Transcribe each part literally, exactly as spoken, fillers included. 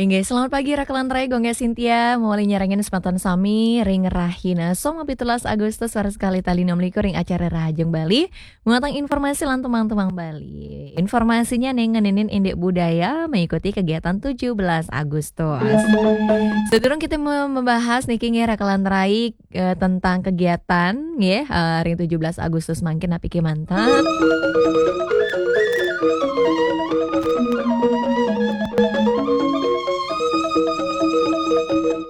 Nggih, selamat pagi Rakelan Rai, Gongge Sintia, mawali nyarengin semeton sami ring rahina Soma pitulas Agustus, waras kalih tali enam likur ring acara Rahajeng Bali, muatang informasi lan tumang-tumang Bali. Informasinya ning ngeninin indik budaya mengikuti kegiatan tujuh belas Agustus. Sedurung kita me-, membahas niki nggih Rakelan Rai, eh, tentang kegiatan nggih, eh, ring tujuh belas Agustus mangkin napi kemanten.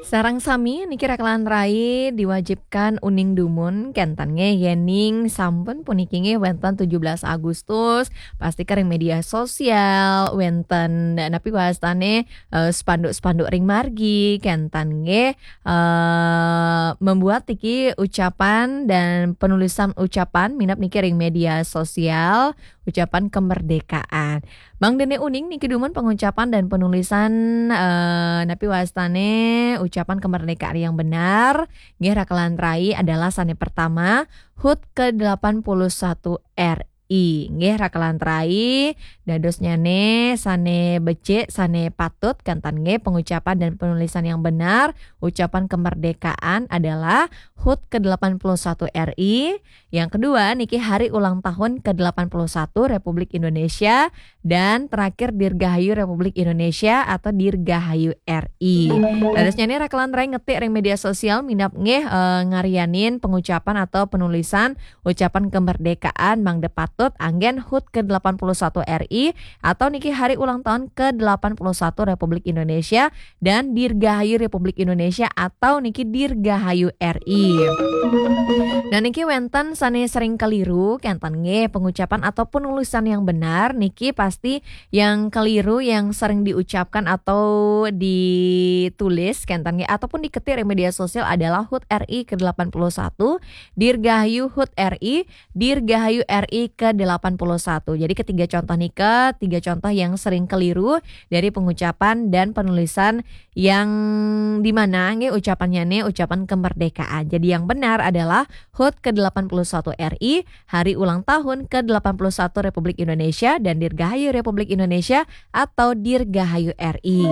Sareng sami niki Rakelan Rai diwajibkan uning dumun kenten nggih, yening sampun puniki nggih wenten tujuh belas Agustus, pasti ka ring media sosial, wenten napi wastane, eh, spanduk-spanduk ring margi kenten nggih, eh, membuat niki ucapan dan penulisan ucapan minab niki ring media sosial, ucapan kemerdekaan. Mangdene uning niki dumun pengucapan dan penulisan, eh, napi wastane ucapan kemerdekaan yang benar. Nggih, Rakelan Rai adalah sane pertama, hut kedelapan puluh satu R I. Nggih, Rakelan Rai, dadosnyane sane becik, sane patut, kenten nggih, pengucapan dan penulisan yang benar, ucapan kemerdekaan adalah hut kedelapan puluh satu R I. Yang kedua, niki hari ulang tahun kedelapan puluh satu Republik Indonesia. Dan terakhir, Dirgahayu Republik Indonesia atau Dirgahayu R I. Dadosnyane Rakelan Rai ngetik ring media sosial minab nggih, eh, ngarianin pengucapan atau penulisan ucapan kemerdekaan mangda patut anggen hut kedelapan puluh satu R I atau niki hari ulang tahun kedelapan puluh satu Republik Indonesia dan Dirgahayu Republik Indonesia atau niki Dirgahayu R I. Nah, niki wenten sane sering keliru, kenten nggih, pengucapan atau penulisan yang benar niki pasti yang keliru yang sering diucapkan atau ditulis, kenten nggih, ataupun diketik di media sosial adalah hut R I kedelapan puluh satu, Dirgahayu hut R I, Dirgahayu R I kedelapan puluh satu. Jadi ketiga contoh nika, tiga contoh yang sering keliru dari pengucapan dan penulisan yang di mana nggih ucapannya nih ucapan kemerdekaan. Jadi yang benar adalah hut kedelapan puluh satu R I, hari ulang tahun kedelapan puluh satu Republik Indonesia dan Dirgahayu Republik Indonesia atau Dirgahayu R I.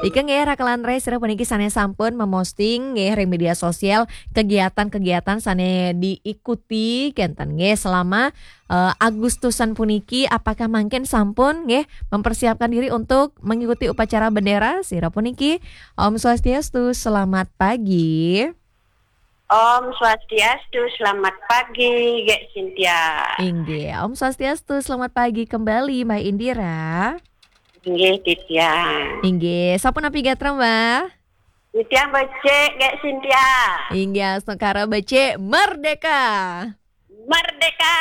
Ika nggih Rakelan Rai sira puniki sane sampun memposting nggih ring media sosial kegiatan-kegiatan sane diikuti kenten nggih selama, eh, Agustusan puniki, apakah mangkin sampun nggih mempersiapkan diri untuk mengikuti upacara bendera sira puniki? Om Swastiastu, selamat pagi. Om Swastiastu, selamat pagi, Gek Sintia. Inggih, Om Swastiastu, selamat pagi kembali, Mbak Indira. Inggih, Titiang. Inggih, sapunapi gatra, Mbak? Titiang becik, Gek Sintia. Inggih, astungkara becik, merdeka. Merdeka.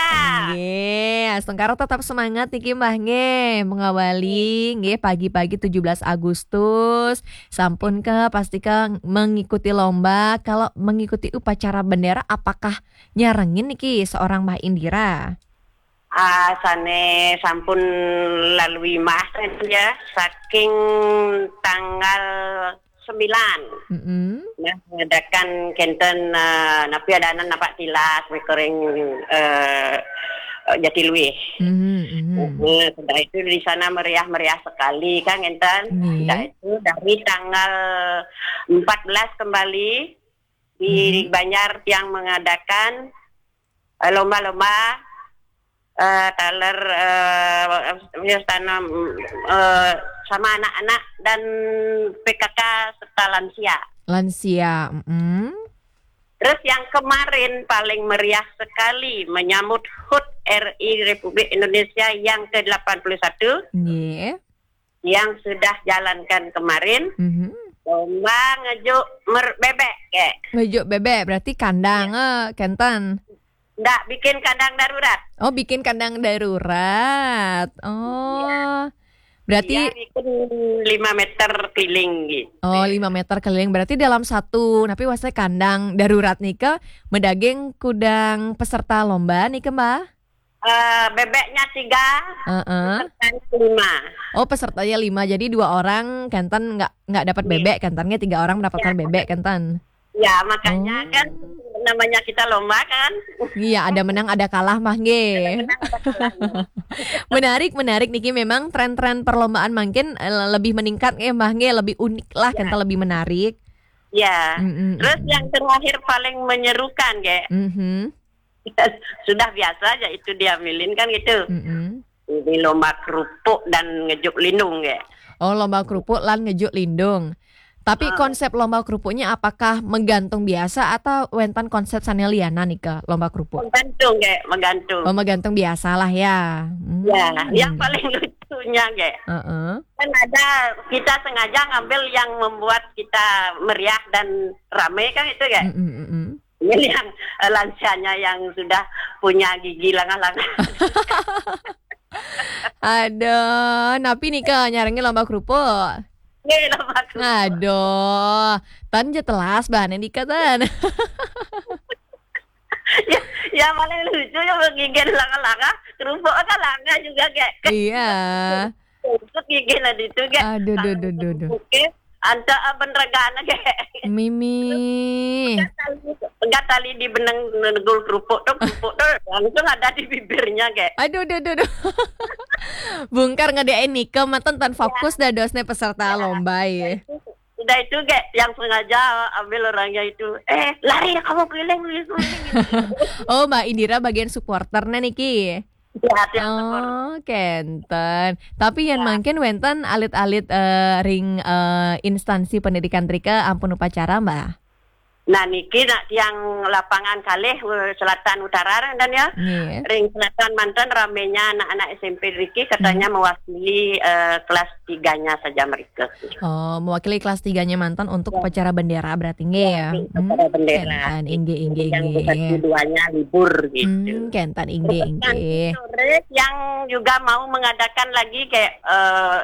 Nggih, astungkara tetap semangat niki, Mbah, nggih. Mengawali nggih pagi-pagi tujuh belas Agustus. Sampun ke pasti ke mengikuti lomba. Kalau mengikuti upacara bendera, apakah nyarengin niki seorang Mbah Indira? Ah, sane sampun lalui mah ya, saking tanggal sembilan. Mm-mm. Nah, mengadakan kenten, eh, napi adanan napak tilas mekering, eh, eh, Jatiluwih. Mhm, mhm. Nah, sudah itu di sana meriah-meriah sekali kan, ngenten. Nggih. Sudah itu dari tanggal empat belas kembali di Mhm. Banjar yang mengadakan, eh, lomba-lomba, eh, taler, eh, wios tanam, eh, sama anak-anak dan P K K serta lansia. Lansia, mm-mm. Terus yang kemarin paling meriah sekali menyambut hut R I Republik Indonesia yang kedelapan puluh satu. Nggih. Yang sudah jalankan kemarin, Mhm. lomba ngejuk mer-, bebek, Gek. Ngejuk bebek, berarti kandang, eh, kenten. Ndak, bikin kandang darurat. Oh, bikin kandang darurat. Oh. Iya. Berarti Iya, bikin lima meter keliling gitu. Oh, lima meter keliling. Berarti dalam satu, napi wastane kandang darurat nika, medaging kudang peserta lomba nika, Mbah? Eh, bebeknya tiga, Heeh. pesertanya lima. Oh, pesertanya lima. Jadi dua orang kenten nggak, nggak dapat Iya. bebek, kenten nggih tiga orang mendapatkan Iya. bebek, kenten. Ya, makanya Oh. kan namanya kita lomba kan. Iya, ada menang, ada kalah mah nggih. Menang ada kalahnya. Menarik, menarik niki, memang tren-tren perlombaan mungkin eh, lebih meningkat nggih mah nggih, lebih unik lah, Ya. Kental lebih menarik. Ya. Mm-mm, Terus mm-mm. Yang terakhir paling menyerukan, kayak Mhm. sudah biasa aja itu diambilin kan gitu. Mm-mm. Ini lomba kerupuk dan ngejuk lindung, kayak. Oh, lomba kerupuk lan ngejuk lindung. Tapi Ah. Konsep lomba kerupuknya apakah menggantung biasa atau wénten konsep sané liyanan nika lomba kerupuk? Menggantung, kayak menggantung. Oh, menggantung biasalah ya. Hmm, Ya, yang nggih. Paling lucunya, kayak Heeh. Kan ada, kita sengaja ngambil yang membuat kita meriah dan ramai kan itu, kayak. Mm-mm, mm-mm. Ini yang eh, lansianya yang sudah punya gigi langah-langah. Aduh, napi nika nyarengin lomba kerupuk? Nggih, lomba kerupuk. Aduh, tan ja telas bahannya nika tan. Ya, ya, paling lucu ya gigi langah-langah, kerupuk kan langah juga, kayak. Iya. Kerupuk gigi lah itu, kayak. Aduh, duh, duh, duh, duh. Oke, anta aben regana, kayak. Mimi. Enggak tali di benang negul kerupuk tuh, kerupuk tuh langsung ada di bibirnya, kayak. Aduh, duh, duh, duh. Bungkar ngedein nika manten tan fokus dadosnya peserta lomba ya. Udah itu, kayak, yang sengaja ambil orangnya itu, eh, lari kamu, keliling, keliling, keliling. Oh, Mbak Indira bagian supporternya niki. Ya, tiap support. Oh, kenten. Tapi yang mungkin wénten alit-alit eh, ring eh, instansi pendidikan trika ampun upacara, Mbak. Nah, niki nak yang lapangan kalih eh, selatan utara dan ya. Nggih. Ring selatan manten ramenya anak-anak S M P riki katanya mewakili eh, kelas tiganya saja mereka. Oh, mewakili kelas tiganya manten untuk upacara bendera berarti nggih ya. Upacara bendera. Kenten, inggih, inggih, Yang inggih. Satu duanya libur gitu. Hmm, kenten, inggih, Terus nanti inggih. Sore yang juga mau mengadakan lagi kayak eh,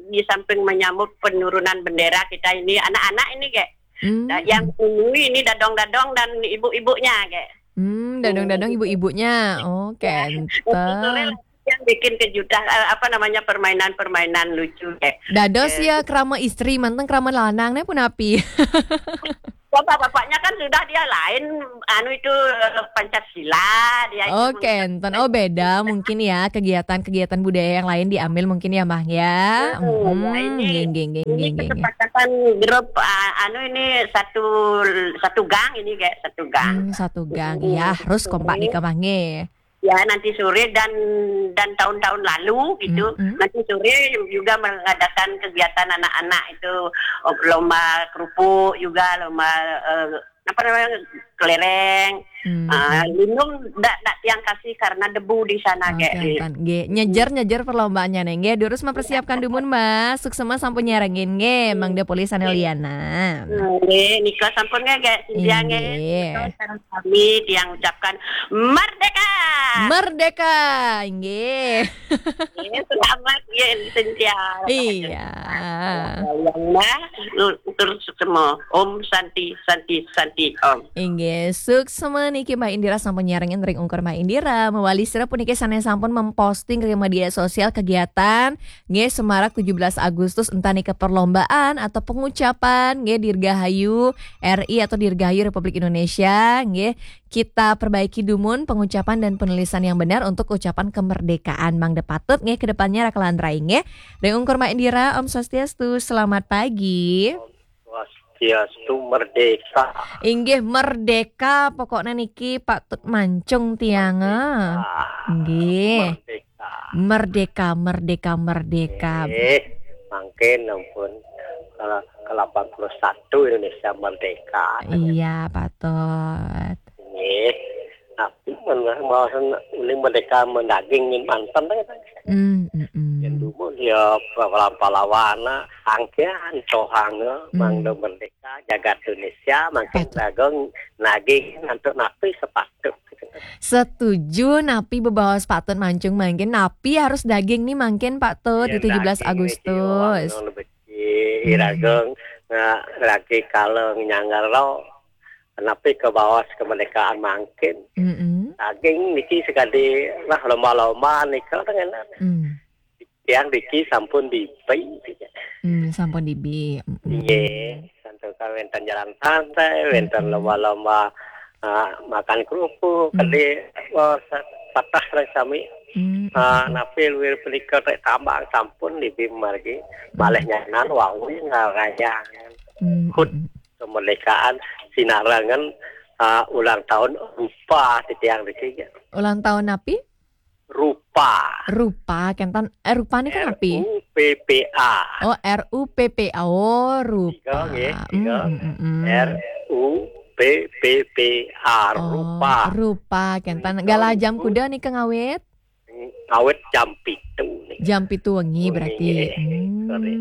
di samping menyambut penurunan bendera kita ini, anak-anak ini, kayak. Hmm. Nah, yang menunjui ini dadong-dadong dan ibu-ibunya, kayak. Hmm, dadong-dadong ibu-ibunya. Oh, Nanti sore kenten. Yang bikin kejutan eh, apa namanya, permainan-permainan lucu, kayak. Dados ya krama istri manten krama lanang nih pun api. Bapak-bapaknya kan sudah dia lain, anu itu eh, Pancasila dia itu. Oh, kenten. Oh, beda mungkin ya, kegiatan-kegiatan budaya yang lain diambil mungkin ya, Mah ya. Hmm, Hmm, ya, ini nggih, nggih, nggih, ini nggih, nggih, nggih. Kesepakatan grup ah, anu ini satu satu gang ini, kayak, satu gang. Hmm, satu gang. Hmm, Ya, harus satu kompak gang. Nika, Mah nggih. Ya, nanti sore dan dan tahun-tahun lalu gitu. Mm-mm. Nanti sore juga mengadakan kegiatan anak-anak itu, lomba kerupuk juga, lomba eh, apa namanya, kelereng. Hmm. Ah, lindung ndak ndak tiang kasih karena debu di sana, Oke, kayak. kan. Nggih, nyejer-nyejer perlombaannya nih. Nggih, durus mempersiapkan dumun, Mbak. Suksema sampun nyarengin nggih, Mangda Poli sané liyanan. Nggih, nika sampun nggih, kayak, Cynthia nggih. Inggih. Sekarang kami yang ucapkan merdeka. Merdeka, inggih. Nggih, selamat nggih, Cynthia. Iya. Yang mah terus semua. Om Santi, Santi, Santi, Om. Inggih, suksema niki Mbak Indira sampun nyarengin ring ungkur Mbak Indira. Mewali sira puniki sané sampun memposting ke media sosial kegiatan nggih semarak tujuh belas Agustus, entah nika perlombaan atau pengucapan nggih Dirgahayu R I atau Dirgahayu Republik Indonesia nggih. Kita perbaiki dumun pengucapan dan penulisan yang benar untuk ucapan kemerdekaan. Mangda patut nggih ke depannya rakalan rai nggih. Ring ungkur Mbak Indira, Om Swastiastu, selamat pagi. Swastiastu, merdeka. Inggih, merdeka pokoknya niki patut mancung tiang. Ah. Ah, Nggih. Merdeka. Merdeka, merdeka, merdeka. Eh, mangkin ampun, kalau ke delapan puluh satu Indonesia merdeka. Iya, patut. Nggih. Tapi men mawasan uling merdeka mendaging min manten kan. Hmm, mm, mm. Yang dulu dia pahlawan-pahlawan, angkian cohanga, Hmm. mangda merdeka, jagat Indonesia, mangkin Patut. dagang naging untuk napi sepatut. Setuju, napi bebaos patut mancung mangkin, napi harus daging nih mangkin patut di Ya, tujuh belas daging Agustus. Itu, anu, lebih Hmm. iragang, nah, lagi kalau nyanggar lo, napi ke bawas kemerdekaan mangkin. Mm-mm. Daging niki sekali lah lomba-lomba nika dengan Hmm. yang niki sampun dipi. Hmm, sampun dibi. Mm-mm. Iya, santo wénten jalan santai, wénten lomba-lomba, eh, makan kerupuk, kedé, eh, sa-, patah lah sami. Eh, napi luwih punika ték tambang sampun dibi margi. Malih nyanan wau ngarayang. Hut kemerdekaan sinarengan, eh, ulang tahun rupa titiang niki. Ulang tahun napi? Rupa. Rupa, kénten, eh, rupa nika napi? R U P P A. Oh, R U P P A. Oh, rupa. Tiga, nggih, tiga. R U P P A, oh, rupa. Rupa, kénten. Nika galah jam kuda nika ngawit? Ngawit jam pitu nika. Jam pitu wengi berarti. Nggih. Sorry.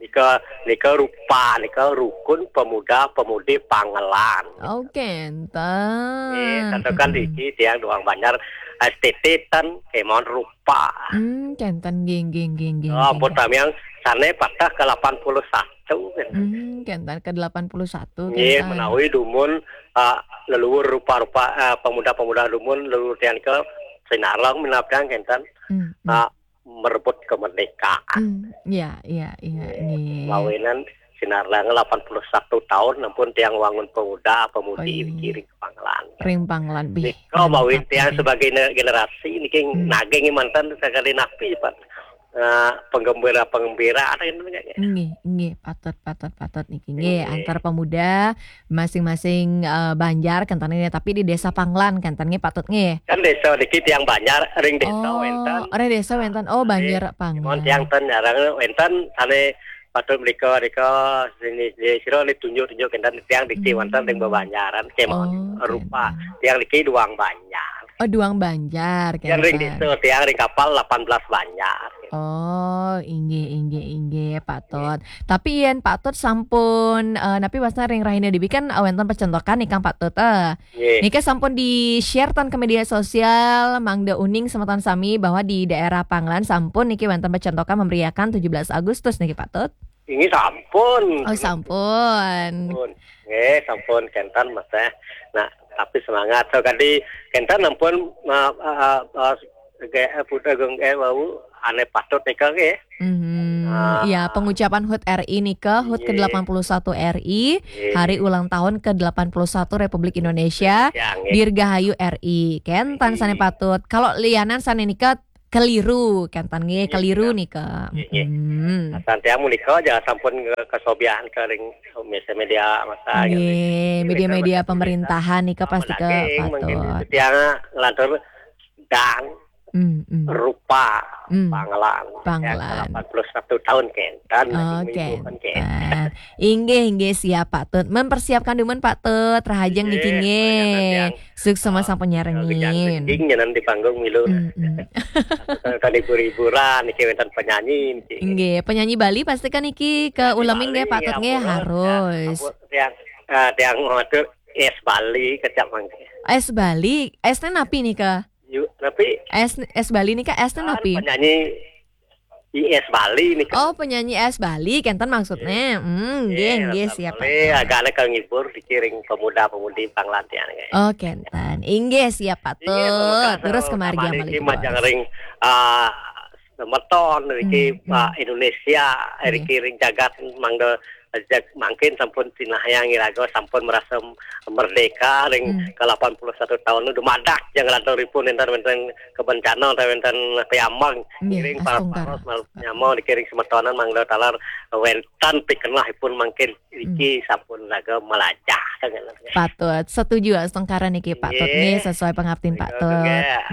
Nika, nika rupa, nika Rukun Pemuda Pemudi Pangelan. Oh, kénten. Nggih, santukan niki tiang Duang Banjar, S T T ten kémon rupa. Hmm, kénten, nggih, nggih, nggih, nggih, oh, ampun, nggih. Tamiang sané patah ke delapan puluh satu, kénten. Hmm, kénten ke delapan puluh satu, nggih, kénten. Menawi dumun, eh, leluhur rupa-rupa, eh, pemuda-pemuda dumun leluhur tiang ke sinareng minab tiang, kénten. Hmm, hmm. Eh, merebut kemerdekaan. Hmm, iya, iya, iya, nggih. Mawinan sinareng delapan puluh satu tahun ampun tiang wangun pemuda pemudi niki ring Pangelan. Ring Pangelan, bih. Nika mawinan tiang sebagai ne-, generasi niki naging manten sakali napi, Pak. Eh, penggembira-penggembira ada yang nggih, nggih, patut, patut, patut niki. Nggih, antar pemuda masing-masing, eh, banjar kénten nggih, tapi di Desa Pangelan kénten nggih, patut nggih. Kan desa niki tiang Banjar, ring desa wénten. Oh, ring desa wénten. Oh, Banjar Pangelan. Tiang ten jarang wénten sané patut menika, menika sini, sira ni tunjuk-tunjuk kénten tiang niki wénten ring bebanjaran kémon rupa. Tiang niki Duang Banjar. Oh, Duang Banjar, tiang ring desa, tiang ring kapal delapan belas Banjar. Oh, inggih, inggih, inggih, patut. Tapi yén patut sampun, eh, napi wasna ring rahina dibi kan, eh, wénten pacentokan nika patut, eh. Nggih. Nika sampun di-share ten ke media sosial, mangda uning semeton sami bahwa di daerah Pangelan sampun niki wénten pacentokan memeriahkan tujuh belas Agustus niki, Pak Tut. Inggih sampun. Oh, sampun. Sampun. Nggih, sampun kénten, Mas, eh. Nah, tapi semangat. So, kadi kénten ampun, ma-, eh, eh, eh, Putra Geng, eh, wau, ané patut nika nggih. Mhm. Ah. Ya, pengucapan hut R I nika, hut ke delapan puluh satu R I, hari ulang tahun ke delapan puluh satu Republik Indonesia, ya, nggih. Dirgahayu R I. Kénten sané patut. Kalau lianan sané nika keliru, kénten nggih, keliru nika. Nggih, nggih. Mm-mm. Santiang menika aja sampun nge-, kesobiahan ke ring media massa, nggih, gitu. Media-media pemerintahan nika pasti ke patut. Tiang ngelantur dan rupa Pangelan. Pangelan. Ya, delapan puluh satu tahun kénten. Oh, minggu kan kénten. Inggih, inggih, siap, Pak Tut. Mempersiapkan dumun, Pak Tut. Rahajeng niki nggih. Sukses sama sampun nyarengin. Nggih, nyanan di panggung milu. Tadi hibur-hiburan niki wénten penyanyi niki. Nggih, penyanyi Bali pasti kan niki ke ulemin nggih, Pak Tut nggih, harus. Tiang, eh, tiang matur es Bali kecap mangke. Es Bali, esnya napi nika? Yuk, tapi es, es Bali nika esnya napi? Penyanyi I S Bali nika. Oh, penyanyi es Bali, kénten maksudnya. Hmm, nggih, nggih, siap. Agak ada kang ngibur dikiring pemuda-pemudi Pangelan tiang, nggih. Oh, kénten. Inggih, siap, Pak Tut. Terus kemargi malih majeng ring, ah, semeton niki, ah, Indonesia, niki ring jagat mangda, jag-, mangkin sampun sinahang iraga sampun merasa merdeka ring ke delapan puluh satu tahun dumadak jang lanturipun énten wénten kebencana utawi wénten piambang. Nggih, ring para astungkara. Paros mal-, nyama dikiring semetonan mangda taler wénten pikenahipun mangkin niki sampun raga malajah. Patut. Setuju astungkara niki, Pak Tut. Nggih. Nggih, sesuai pengabdian Pak Tut.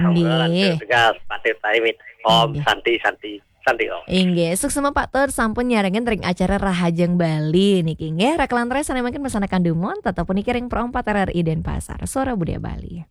Nggih. Nggih. Tegas, Pak Tut, pamit. Om Santi, Santi, Santi Om. Inggih, suksma Pak Tut sampun nyarengin ring acara Rahajeng Bali niki. Nggih, rakalantaran sané mangkin masanakan dumun, tetep puniki ring Pro empat R R I Denpasar, Suara Budaya Bali.